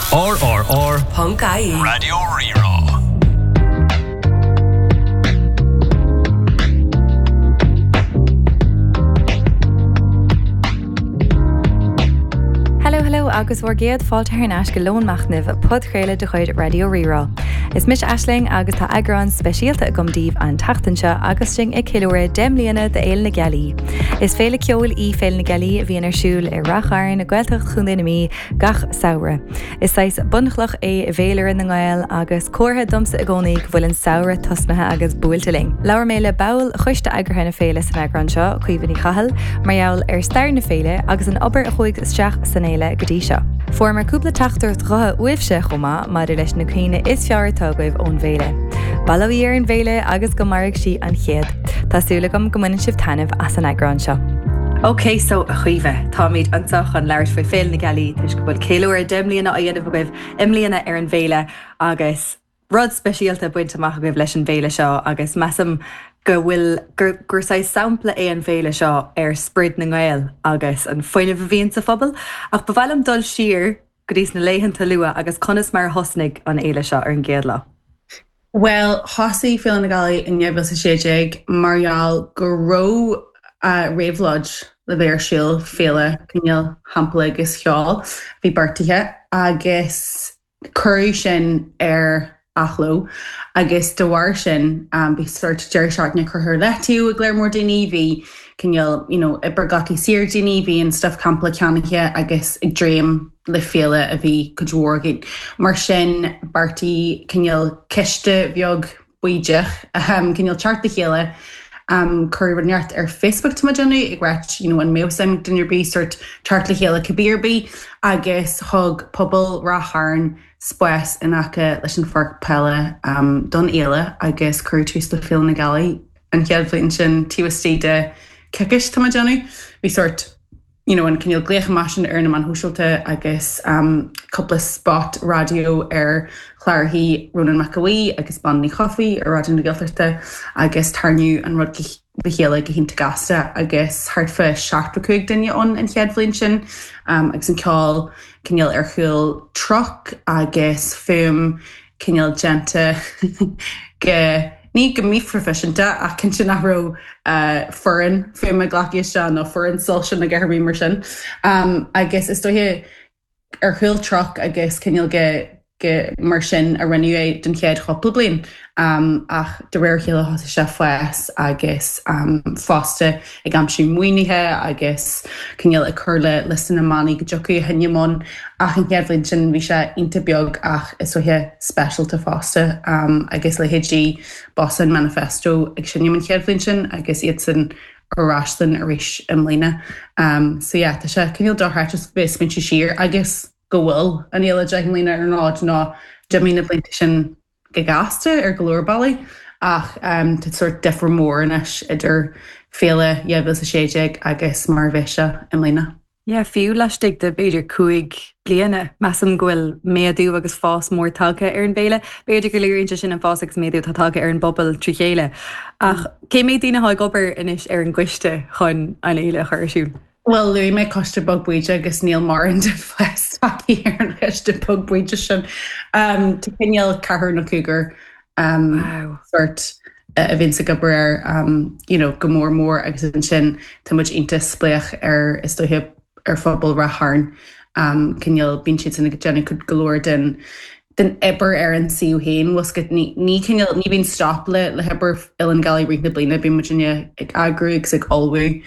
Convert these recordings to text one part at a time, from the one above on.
RRR. Ponc IE. Raidió Rí-Rá. Hello hello agus bhur gcéad fáilte thar n-ais go Lón Machnaimh, podchraoladh de chuid Raidió Rí-Rá. Is mise Aisling agus tá eagrán speisialta agam daoibh an tseachtain seo agus sinn ag ceiliúradh 10 mbliana d'Fhéile na Gealaí. Is féile ceoil í Féile na Gealaí a bhíonn ar siúl i Rath Chairn, Gaeltacht Chontae na Mí, gach samhradh. Is saghas bunchloch é i bhféilire na nGael agus comhartha domsa i gcónaí go bhfuil an samhradh tosnaithe agus buailte linn. Labhair mé le ball choiste eagraithe na féile san eagrán seo, Caoimhe Ní Chathail, mar gheall ar stair na féile agus an obair a chuaigh isteach san fhéile go dtí seo. Fuaireamar cúpla teachtaireacht ghutha uaibhse chomh maith maidir leis na cuimhní is fearr atá agaibh ón bhféile. Bail ó Dhia ar an bhféile agus go mairfidh sí an chéad. Tá súil agam go mbaineann sibh taitneamh as an eagrán seo. Ok so a Chaoimhe, táimid anseo chun labhairt faoi Féile na Gealaí toisc go bhfuil ceiliúradh 10 mbliana á dhéanamh agaibh i mbliana ar an bhféile agus rud speisialta bainte amach agaibh leis an bhféile seo agus measaim go bhfuil, gur, gur saghas sampla é an bhféile seo ar sprid na nGael agus an fuinneamh a bhíonn sa phobal. Ach ba mhaith liom dul siar go dtí sna laethanta luath agus conas mar a thosnaigh an fhéile seo ar an gcéad lá? Bhuel, thosaigh Féile na Gealaí in 2016 mar gheall go raibh réabhlóid le bheith ar siúl, féile cineál champa agus cheoil a bhí beartaithe agus cuireadh sin ar athló agus de bharr sin bhí sórt deireadh seachtaine curtha ar leataobh ag lear mór daoine, bhí cineál you know obair glactha saor ag daoine, bhí an stuif campála ceannaithe agus ag dréim le féile a bhí cuid mhór againn. Mar sin beartaíodh cineál coiste bheag bídeach cineál teacht le chéile cuireadh rud inteacht ar Facebook tá mé ag déanamh ag ráit you know an mbeadh suim ag duine ar bith sórt teacht le chéile cibé ar bith agus thug pobal Ráth Chairn spás in aice leis an pháirc peile don fhéile agus cuireadh tús le Féile na Gealaí an chéad bhliain sin taobh istigh de coicís tá mé ag déanamh. Bhí sórt you know an cineál glaoch amach sin ar na meáin shóisialta agus cúpla spot raidió ar chlárachaí Rónán Mac Aodha Bhuí agus Bean Ní Chofaigh ar Raidió na Gaeltachta agus tarraingíodh an rud le chéile go hiontach gasta agus thart fá 75 duine ann an chéad bhliain sin agus an ceol cineál ar chúl truck agus fuaim cineál déanta go, ní go míphroifisiúnta ach cinnte nach raibh foireann fuaime glactha isteach nó foireann soilse nó a dhath ar bith mar sin. Agus is dóiche ar chúl truck agus cineál go, go mar sin a rinneadh é don chéad chúpla bliain ach de réir a chéile thosaigh sé ag fás agus fosta ag aimsiú maoinithe agus cineál ag cur le liosta na mbannaí go dtiocfadh a sheinm ann ach an chéad bhliain sin bhí sé iontach beag ach is dóiche speisialta fosta agus leithéidí Bossán Manifesto ag seinm an chéad bhliain sin agus iadsan ar ais linn arís i mbliana. So yeah tá sé cineál dochreidte bheith ag smaointiú siar agus go bhfuil an fhéile 10 mbliana ar an fhód nó d'imigh na blianta sin go gasta ar go leor bealaí ach tá sórt difear mór anois idir féile 2016 agus mar a bheidh sé i mbliana. Yeah, fiú laistigh de b'fhéidir 5 bliana, measaim go bhfuil méadú agus fás mór tagtha ar an bhféile. B'fhéidir go léiríonn sé sin an fás agus méadú atá tagtha ar an bpobal trí chéile. Ach cé mhéad daoine atá ag obair anois ar an gcoiste chun an fhéile a chur ar siúl? Bhuel, luaigh mé coiste beag bídeach agus níl mórán den phost tagtha ar an choiste beag bídeach sin. Tá cineál ceathrar nó cúigear sórt a bhíonns ag obair air you know go mór mór agus ansin tá muid iontach spléach ar is dóiche ar phobal Ráth Chairn. Cineál bíonn siadsan ag déanamh cuid go leor den den obair ar an suíomh féin, bhfuil 's agat, ní ní cineál ní bhíonn stop le le hobair Fhéile na Gealaí i rith na bliana, bíonn muidinne ag eagrú agus ag ullmhú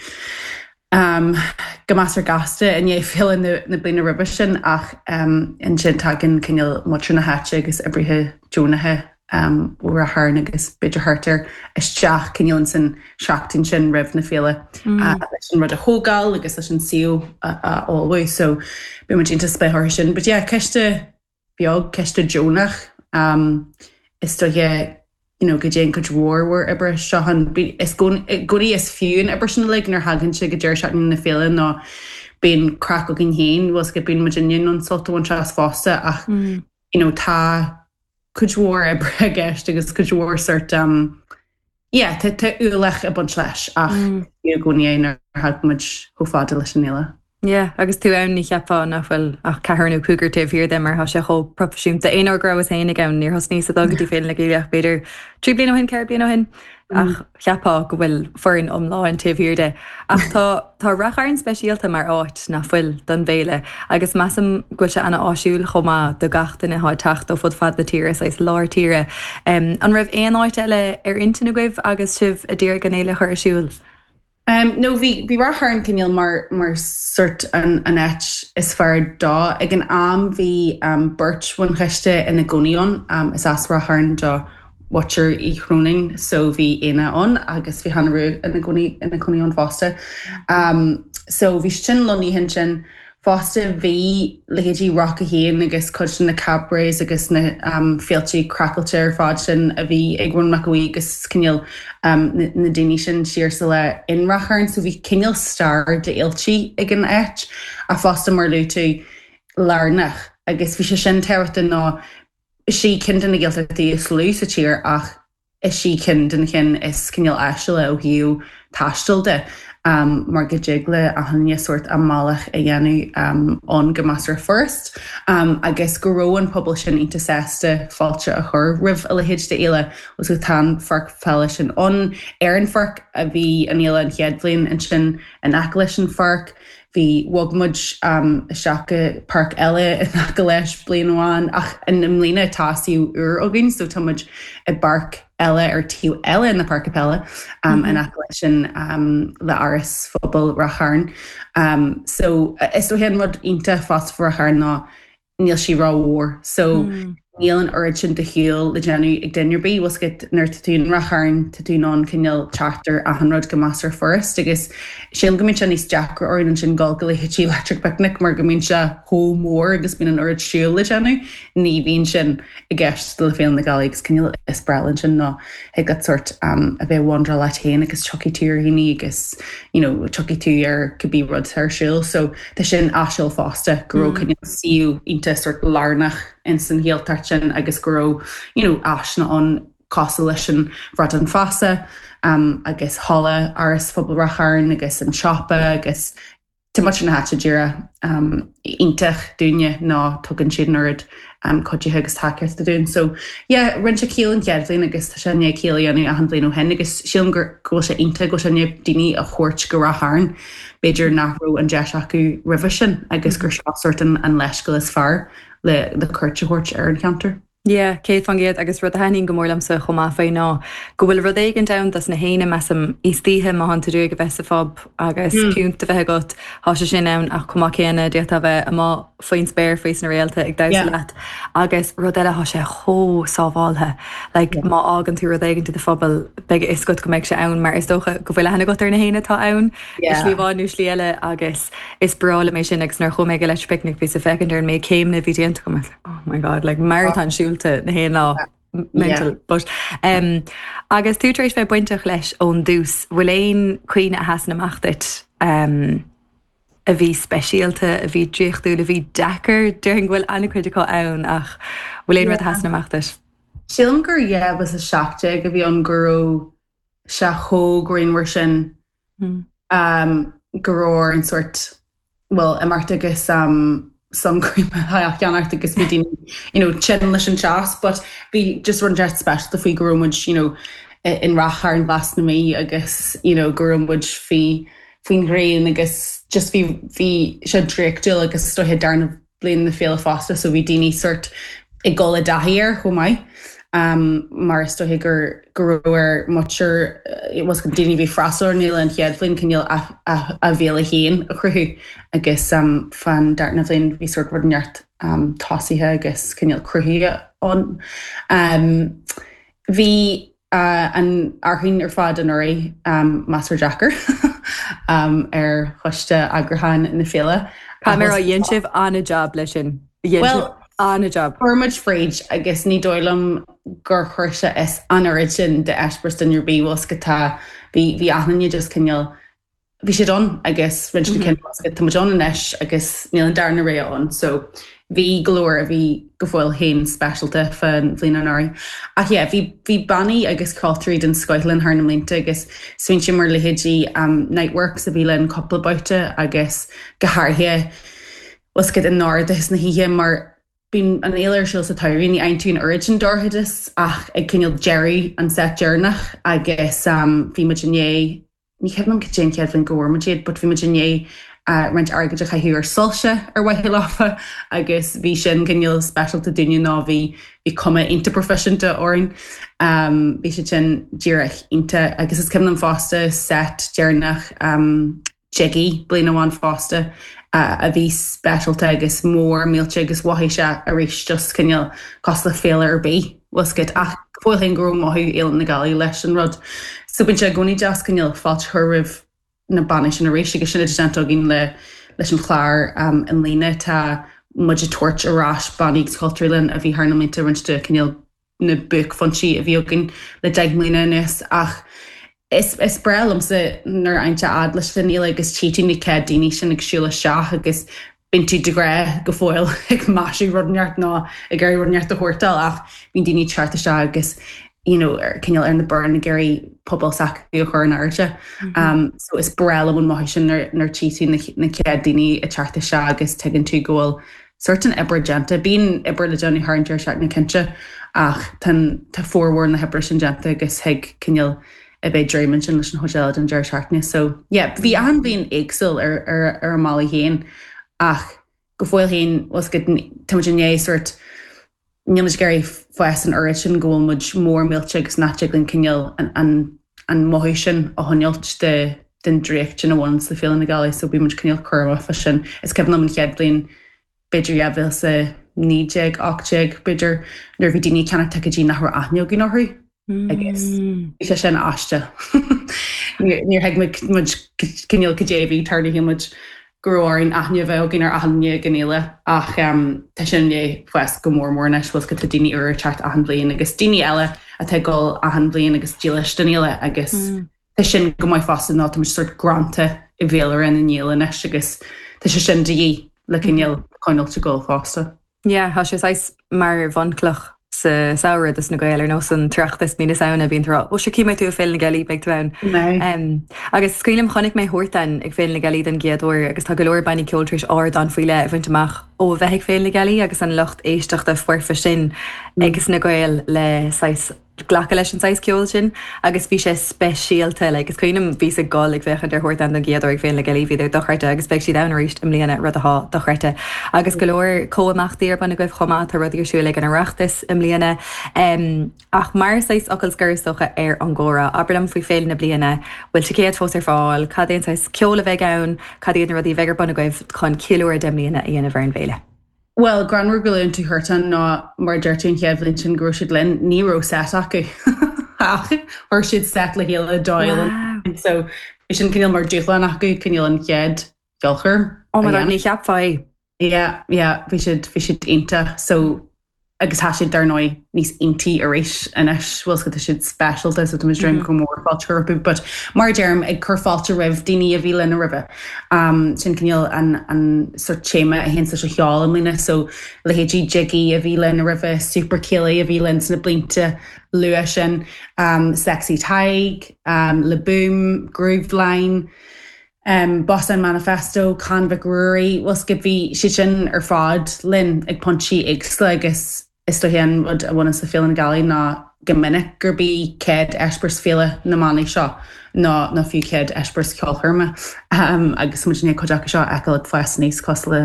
go measartha gasta i ndiaidh féile na na bliana roimhe sin ach ansin tagann cineál muintir na háite agus oibrithe deonacha ó Ráth Chairn agus b'fhéidir thart air isteach cineál ins an seachtain sin roimh na féile leis an rud a thógáil agus leis an suíomh a a ullmhú so bíonn muid iontach spléach orthu sin. But yeah, coiste beag, coiste deonach. Is dóiche you know go dtéann cuid mhór mhór oibre isteach ann. Is i gcónaí is fiú an obair sin uilig nuair a thagann sé go deireadh seachtaine na féile nó bíonn craic againn féin, bhfuil 's agat, bíonn muidinne in ann sult a bhaint as fosta ach you know tá cuid mhór oibre i gceist agus cuid mhór sort yeah tá tá ualach ag baint leis ach is fiú i gcónaí é nuair a thagann muid chomh fada leis an fhéile. Yeah, agus tú ann ní cheapfá nach bhfuil ach ceathrar nó cúigear taobh thiar de mar tá sé chomh proifisiúnta. Aon uair go rabhas féinig ann, níor thosnaíos ag dul go dtí Féile na Gealaí ach b'fhéidir 3 bliana ó shin, 4 bliana ó shin, ach cheapfá go bhfuil foireann iomlán taobh thiar de. Ach tá tá Rath Chairn speisialta mar áit, nach bhfuil, don bhféile agus measaim go bhfuil sé ana-áisiúil chomh maith do gach duine atá ag teacht ó fud fad na tíre, saghas lár tíre. An raibh aon áit eile ar intinn agaibh agus sibh a d'iarraidh an fhéile a chur ar siúl? No, bhí, bhí Rath Chairn cineál mar, mar sort an, an áit is fearr dó. Ag an am bhí beirt bhunchoiste ina gcónaí ann, is as Rath Chairn do mhuintir Uí Chróinín so bhí Éanna ann agus bhí Hannah Rua ina gcónaí, ina cónaí ann fosta. So bhí siad sin lonnaithe ansin. Fosta bhí leithéidí Rock 1 agus cuid de na cabarets agus na féilte craiceáilte ar fad sin a bhí ag Rónán Mac Aodha Bhuí agus cineál na daoine sin siar sa lá in Rath Chairn so bhí cineál stair d'fhéilte ag an áit ach fosta mar luaigh tú lárnach agus bhí sé sin tábhachtach nó is í ceann de na Gaeltachtaí is lú sa tír ach Is í ceann de na cinn is cineál áisiúla ó thaobh taistil de, mar go dtig le achan duine sórt a mbealach a dhéanamh ann go measartha furast, agus go raibh an pobal sin iontach sásta fáilte a chur roimh a leithéid d'fhéile. Agus tá an pháirc pheile sin ann. Ar an pháirc a bhí an fhéile an chéad bhliain, ansin in aice leis an pháirc. Bhí, bhog muid isteach go páirc eile in aice leis bliain amháin ach i mbliana tá suíomh úr againn so tá muid i bpáirc eile ar taobh eile na páirce peile in aice leis sin le Áras Phobail Ráth Chairn. So is dóiche an rud iontach fosta faoi Ráth Chairn ná níl sí rómhór so níl an oiread sin de shiúl le déanamh ag duine ar bith. Bhfuil 's agat nuair atá tú in Ráth Chairn tá tú in ann cineál teacht ar achan rud go measartha furast agus sílim go mbíonn sé níos deacra orainn ansin dul go leithéidí Electric Picnic mar go mbíonn sé chomh mór agus bíonn an oiread siúl le déanamh. Ní bhíonn sin i gceist le Féile na Gealaí agus cineál is breá linn sin ná thig leat sórt a bheith ag wandráil leat féin agus tiocfaidh tú ar dhaoine agus you know tiocfaidh tú ar cibé rud atá ar siúl so tá sin áisiúil fosta go raibh cineál suíomh iontach sórt lárnach ins an Ghaeltacht sin agus go raibh you know áiseanna ann cosúil leis an Bhradán Feasa agus halla Áras Phobail Ráth Chairn agus an siopa agus Tá muintir na háite díreach iontach dúinne nó tugann siad an oiread cuidithe agus tacaíochta dúinn. So yeah, rinne sé ciall an chéad bhliain agus tá sé i ndiaidh ciall a dhéanamh achan bhliain ó shin agus sílim go bhfuil sé iontach go bhfuil sé i ndiaidh daoine a thabhairt go Ráth Chairn b'fhéidir nach raibh an deis acu roimhe sin agus gur seo sórt an leithscéal is fearr le cuairt a thabhairt ar an cheantar. Yeah, 100% agus rud a thaitníonn go mór liomsa chomh maith faoi ná go bhfuil rud éigint ann dos na héinne, measaim, istoíche má thánn tú ag iarraidh a bheith sa phub agus piúnt a bheith agat, thá sé sin ann ach chomh maith céanna d'fhéadfá a bheith amuigh faoin spéir faoi sna réalta ag damhsa leat agus rud eile thá sé chomh sábháltha, like má fhágann tú rud éigint i do phuball beidh a fhios agat go mbeidh sé ann mar is dócha go bhfuil aithne agat ar na héinne atá ann i slí amháin nó slí eile agus is breá liom é sin agus nuair a chuaigh mé ag Electric Picnic bhíos ag féachaint ar an méid céimeanna a bhí déanta agam oh my god, like marathon siúlta na haon lá mental. But um, agus tú tar éis bheith bainteach leis ón dtús, bhfuil aon cuimhne a sheasann amach duit um, a bhí speisialta, a bhí draíochtúil, a bhí deacair, déarfainn go bhfuil an-chuid acu ann ach bhfuil aon rud a sheasann amach duit? Sílim gur 2017 a bhí ann go raibh sé chomh grianmhar sin go raibh orainn sórt, bhuel, imeacht agus sun cream a cheannacht agus bhí daoine, you know, tinn leis an teas but bhí just rud inteacht speisialta faoi go raibh muid, you know, in Ráth Chairn Ghlas na Mí agus, you know, go raibh muid faoi faoin ghrian agus just bhí bhí sé draíochtúil agus is dóiche darna bliain na féile fosta so bhí daoine sórt ag dul i dtaithí air chomh maith mar is dóiche gur go raibh ar muintir bhuel daoine a bhí ag freastal ar an fhéile an chéad bhliain cineál a bhféile féin a chruthú agus fán darna bhliain bhí sórt rud inteacht tosaithe agus cineál cruthaithe ann. Bhí an fhearthainn ar fad anuraidh measartha deacair ar choiste eagrúcháin na féile. Caithfidh mé a rá, dhein sibh an-jab leis sin. Dhein sibh an-jab. Chuir muid fríd agus ní dóigh liom gur chuir sé as an oiread sin d'eispéireas duine ar bith, bhfuil 's agat tá, bhí achan duine just cineál bhí siad ann agus rinne siad cinneadh agus tá muid ann anois agus níl an darna rogha ann so. Bhí go leor a bhí go fóill féin speisialta fán bhliain anuraidh. Ach yeah, bhí bhí bannaí agus ceoltóirí den scoith linn thar na mblianta agus smaointe mar leithéidí Niteworks a bhí linn cúpla babhta agus go háirithe bhfuil 's agat i ndorchadas na hoíche mar bíonn an fhéile ar siúl sa tsamhradh, ní fhaigheann tú an oiread sin dorchadas ach ag cineál deireadh an set deireanach agus bhí muid i ndiaidh Ní cuimhin liom cad é an chéad bhliain go bhfuair muid iad but bhí muid i ndiaidh roinnt airgid a chaitheamh ar soilse ar mhaithe leofa agus bhí sin cineál speisialta dúinne nó bhí bhí cuma iontach proifisiúnta orainn. Bhí siad sin díreach iontach agus is cuimhin liom fosta set deireanach Jiggy bliain amháin fosta a bhí speisialta agus mór millteach agus mhothaigh sé arís just cineál cosúil le féile ar bith. Bhfuil 's agat ach go fóill féin go raibh mothú Fhéile na Gealaí leis an rud. So bíonn sé i gcónaí deas cineál fáilte a chur roimh na bannaí sin arís agus sin atá déanta againn le leis an chlár i mbliana. Tá muid ag tabhairt ar ais bannaí agus ceoltóirí linn a bhí thar na mblianta roinnt de cineál na buaicphointí a bhí againn le 10 mbliana anuas ach is is breá liomsa nuair a fhaigheann tú a fhad leis an fhéile agus tchí tú na chéad daoine sin ag siúl isteach agus bíonn tú de ghnáth go fóill ag maisiú rud inteacht nó ag iarraidh rud inteacht a shórtáil ach bíonn daoine ag teacht isteach agus you know ar cineál ar na bioráin ag iarraidh puball s'acu a chur in airde. So is breá liom an mothú sin nuair nuair tchí tú na na chéad daoine ag teacht isteach agus tuigeann tú go bhfuil sórt an obair déanta. Bíonn obair le déanamh thar an deireadh seachtaine cinnte ach tá tá formhór na hoibre sin déanta agus thig cineál a bheith ag dréim ansin leis an chuid eile den deireadh seachtaine. So yeah, bhí achan bhliain éagsúil ar ar ar a mbealaí féin ach go fóill féin bhfuil 's agat tá muid i ndiaidh sórt níl muid ag iarraidh fás an oiread sin go bhfuil muid mór millte agus nach dtig linn cineál an an an mothú sin a choinneáilt de den draíocht sin a bhaineann le Féile na Gealaí so bíonn muid cineál cúramach fá sin. Is cuimhin liom an chéad bhliain b'fhéidir 2019, 18 b'fhéidir, nuair a bhí daoine ag ceannach ticéidí nach raibh aithne againn orthu agus bhí sé sin aisteach. Níor thuig muid cineál cad é a bhí ag tarlú, shíl muid go raibh orainn aithne a bheith againn ar achan duine ag an fhéile ach tá sin i ndiaidh fás go mór mór anois, bhfuil 's agat tá daoine úra ag teacht achan bhliain agus daoine eile atá ag dul achan bhliain agus dílis don fhéile agus Tá sin go maith fosta nó tá muid sórt greanta i bhféilire na nGael anois agus tá sé sin de dhíth le cineál coinneáilt ag dul fosta. Yeah, tá sé saghas mar bhunchloch sa samhradh dos na Gaeil, ar nós an tOireachtas mí na Samhna, bíonn tú ag rá, 'Ó sure, cífidh mé tú ag Féile na Gealaí, beidh tú ann. Agus is cuimhin liom, chonaic mé Huartan ag Féile na Gealaí den gcéad uair agus tá go leor bannaí ceoil tar éis ardán faoi leith a bhaint amach ó a bheith ag Féile na Gealaí agus an lucht éisteachta foirfe sin ages na Gaeil le saghas glacadh leis an saghas ceoil sin agus bhí sé speisialta. Like, is cuimhin liom bhíos ag gol ag féachaint ar Huartan don gcéad uair ag Féile na Gealaí, bhíodar dochreidte agus beidh siad ann arís i mbliana, rud athá dochreidte. Agus go leor comhimeachtaí ar bun agaibh chomh maith, tá rudaí ar siúl ag an Oireachtas i mbliana. Em, ach mar saghas fhocal scoir is dócha ar an gcomhrá, abair liom faoi Féile na bliana, bhfuil ticéid fós ar fáil, cad é an saghas ceoil a bheidh ann, cad iad na rudaí a bheidh ar bun agaibh chun ceiliúradh 10 mbliana a dhéanamh ar an bhféile? Bhuel, greannmhar go luann tú Huartan nó mar a deir tú an chéad bhliain sin go raibh siad linn, ní raibh set acu ach chuir siad set le chéile do Fhéile na So bhí sin cineál mar dúshlán acu cineál an chéad cheolchoirm Oh my God, ní cheapfá é. Yeah, yeah, bhí siad, bhí siad iontach. So agus tá siad dar ndóigh níos iontaí arís anois, bhfuil 's agat tá siad speisialta so tá muid ag dréim go mór fáilte a chur rompu. But mar a deirim, ag cur fáilte roimh daoine a bhí linn roimhe. Sin cineál an an sort téama a théanns leis an cheol i mbliana. So leithéidí Jiggy a bhí linn roimhe, Super Céilí a bhí linn sna blianta luath sin, Sexy Tadhg, Le Boom, Grooveline, Bosán Manifesto, Con Mhic Ruairí, bhfuil 's agat bhí siad sin ar fad linn ag pointí éagsúla agus Is dóiche an rud a bhaineanns le Féile na Gealaí ná go minic gurb í céad eispéireas féile na mbannaí seo nó nó fiú céad eispéireas ceolchoirme agus muid i ndiaidh cuid acu seo a fheiceáil ag fás aníos cosúil le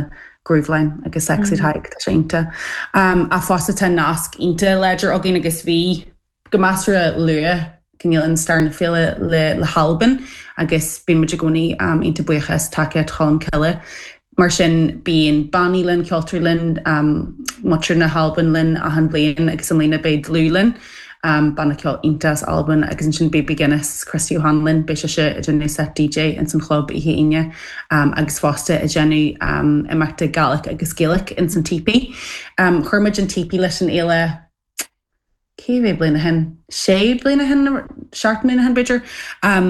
Grooveline agus Sexy Tadhg, tá sé iontach. Ach fosta tá nasc iontach láidir againn agus bhí go measartha luath cineál in stair na féile le hAlbain agus bíonn muid i gcónaí iontach buíoch as tacaíocht Cholm Cille. Mar sin bíonn bannaí linn, ceoltóirí linn, muintir na hAlban linn achan bhliain agus i mbliana beidh Dlùth linn, banna ceoil iontach as Albain agus ansin beidh Guinness, Christy O'Hanlon, beidh sise ag déanamh set DJ ins an chlub oíche Aoine agus fosta ag déanamh imeachta Gaelic agus Gaelic ins an Teepee. Chuir muid an Teepee leis an fhéile Cé mhéad bliain ó shin? sé bliana ó shin, 7 mbliana ó shin b'fhéidir,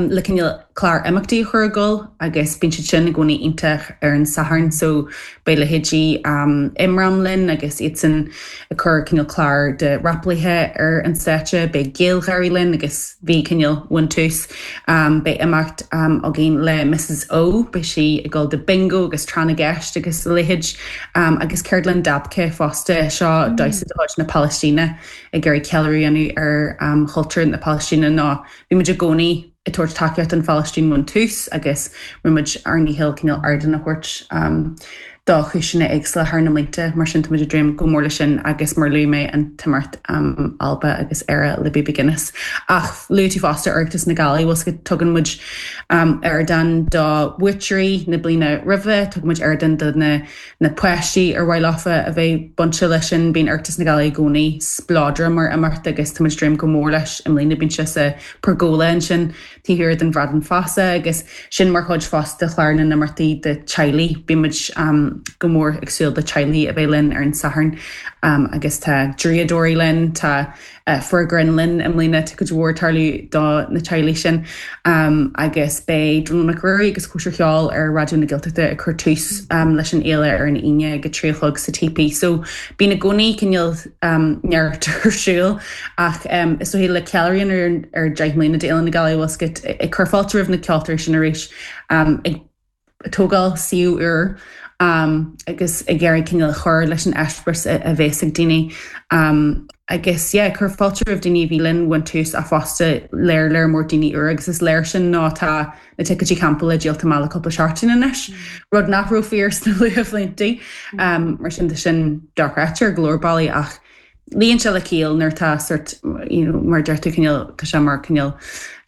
le cineál clár imeachtaí a chur ag dul agus bíonn siad sin i gcónaí iontach ar an Satharn so beidh leithéidí Imram linn agus iadsan ag cur cineál clár de rapálaithe ar an stáitse, beidh GaelGháirí linn agus bhí cineál ón tús. Beidh imeacht againn le Mrs O, beidh sí ag dul do bingo agus tráth na gceist agus a leithéid agus ceardlann dabke fosta, seo damhsa de chuid na Palaistíne ag iarraidh ceiliúradh a dhéanamh ar chultúr na Palaistíne nó bhí muid i gcónaí ag tabhairt tacaíocht don Phalaistín ón tús agus rinne muid ár ndícheall cineál ardán a thabhairt do chúiseanna éagsúla thar na mblianta. Mar sin tá muid ag dréim go mór leis sin agus mar luaigh mé an t-imeacht Alba agus Éire le Baby Guinness. Ach luaigh tú fosta Oireachtas na Gealaí, bhfuil 's agat tugann muid ardán do bhuaiteoirí na bliana roimhe, tugann muid ardán do na na páistí ar mhaith leofa a bheith bainte leis sin. Bíonn Oireachtas na Gealaí i gcónaí spleodrach mar imeacht agus tá muid ag dréim go mór leis i mbliana. Bíonn sé sa Pergola ansin taobh thiar den Bhradán Feasa agus sin mar chuid fosta de chlár na n-imeachtaí do teaghlaigh. Bíonn muid go mór ag súil do teaghlaigh a bheith linn ar an Satharn agus tá draíodóirí linn, tá Fear grinn linn i mbliana, tá cuid mhór ag tarlú do na teaghlaigh sin agus beidh Dónall Mac Ruairí agus Cóisir Cheoil ar Raidió na Gaeltachta ag cur tús leis an fhéile ar an Aoine ag a 3 a chlog sa TP. So bíonn i gcónaí cineál neart ar siúl ach is dóigh le ceiliúradh ar 10 mbliana d'Fhéile na Gealaí bhfuil 's agat ag cur fáilte roimh na ceoltóirí sin arís ag tógáil suíomh úr agus ag iarraidh cineál cur leis an eispéireas a bhéas ag daoine agus yeah cur fáilte roimh daoine a bhí linn ón tús ach fosta léir léir mór daoine úra agus is léir sin nó tá na ticéidí campála díolta amach le cúpla seachtain anois, rud nach raibh fíor sna luathbhlianta. Mar sin tá sin dochreidte ar go leor bealaí ach Luíonn sé le ciall nuair atá sort, you know, mar a deir tú cineál, tá sé mar cineál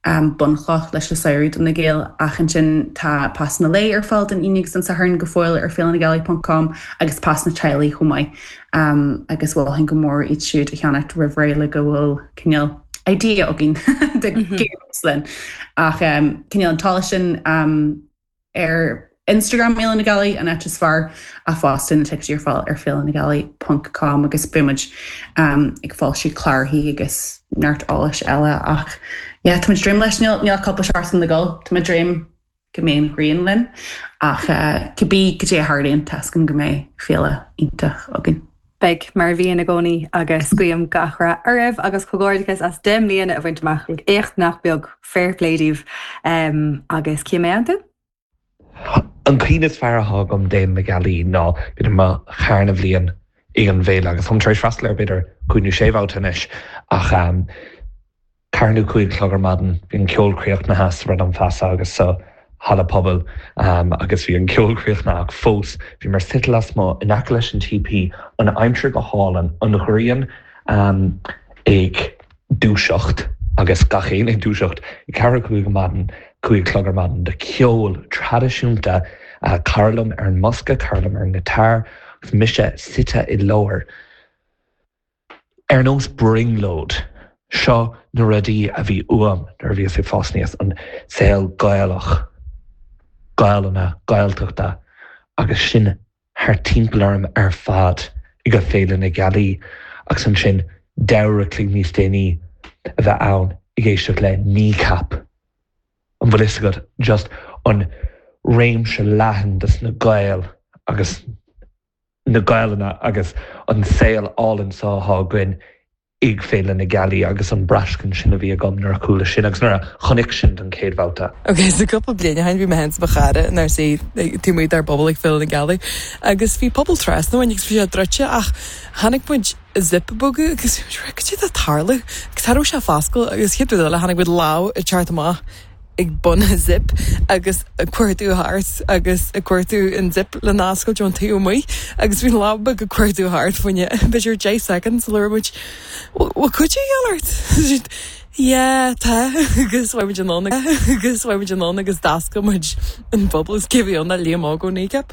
bunchloch leis an samhradh do na Gaeil ach ansin tá pasanna lae ar fáil don Aoine agus don Satharn go fóill ar féilenagealaí ponc com agus pasanna teaghlaigh chomh maith agus mholfainn go mór iad siúd a cheannacht roimh ré le go bhfuil cineál idea againn de cé a bheas linn. Ach cineál an t-eolas sin ar Instagram Fhéile na Gealaí, an áit is fearr, ach fosta na ticéidí ar fáil ar féilenagealaí ponc com agus beidh muid ag foilsiú cláraithe agus neart eolais eile ach yeah tá muid ag dréim leis, níl níl ach cúpla seachtain le dul, tá muid ag dréim go mbeidh an ghrian linn ach cibé cad é a tharlaíonn tá 'fhios agam go mbeidh féile iontach againn. Beidh, mar a bhíonn i gcónaí, agus guím gach rath oraibh agus comhghairdeachas as 10 mbliana a bhaint amach, éacht nach beag, fair play daoibh. Agus Cian, an tú? An cuimhne is fearr atá agam d'Fhéile na Gealaí ná b'fhéidir mo dharna bhliain ag an bhféile agus táim tar éis freastal air b'fhéidir cúig nó sé bhabhta anois ach ceathair nó cúig a chlog ar maidin, bhí an ceol críochnaithe sa Bhradán Feasa agus sa halla pobail agus bhí an ceol críochnaithe ach fós bhíomar suite lasmuigh in aice leis an TP, an aimsir go hálainn, an ghrian ag dúiseacht agus gach éinne ag dúiseacht ag ceathrú cúig ar maidin, cúig a chlog ar maidin do cheol traidisiúnta, cara liom ar an mbosca, cara liom ar an ngiotár agus mise suite i lár. Ar nós brionglóid, seo na rudaí a bhí uaim nuair a bhíos ag fás aníos, an saol Gaelach, Gaelainne, Gaeltachta agus sin thart timpeall orm ar fad ag Féile na Gealaí agus ansin leathuair a chloig níos déanaí a bheith ann ag éisteacht le Kneecap. An bhfuil fhios agat, just an réimse leathan dos na Gaeil agus. na Gaelainne agus an saol álainn seo atá againn ag Féile na Gealaí agus an braistint sin a bhí agam nuair a chuala sin agus nuair a chonaic sin don chéad bhabhta. Ok, so cúpla bliain ó shin bhí mé féin 's mo chara inár suí taobh amuigh dár bpuball ag Féile na Gealaí agus bhí puball trasna uainn agus bhí sé druidte ach chonaic muid zip ag bogadh agus bhí muid cad é atá ag tarlú agus cha raibh sé ag foscladh agus chéad rud eile chonaic muid lámh ag teacht amach ag bun an zip agus ag cuartú thart agus ag cuartú an zip lena oscailt ón taobh amuigh agus bhí an lámh beag ag cuartú thart fá choinne b'fhéidir 10 soicind sula raibh muid bhfuil cuidiú de dhíobháil ort? Yeah tá agus chuaigh muid anonn agus chuaigh muid anonn agus d'oscail muid an puball agus cé a bhí ann ach Liam Óg ó Kneecap.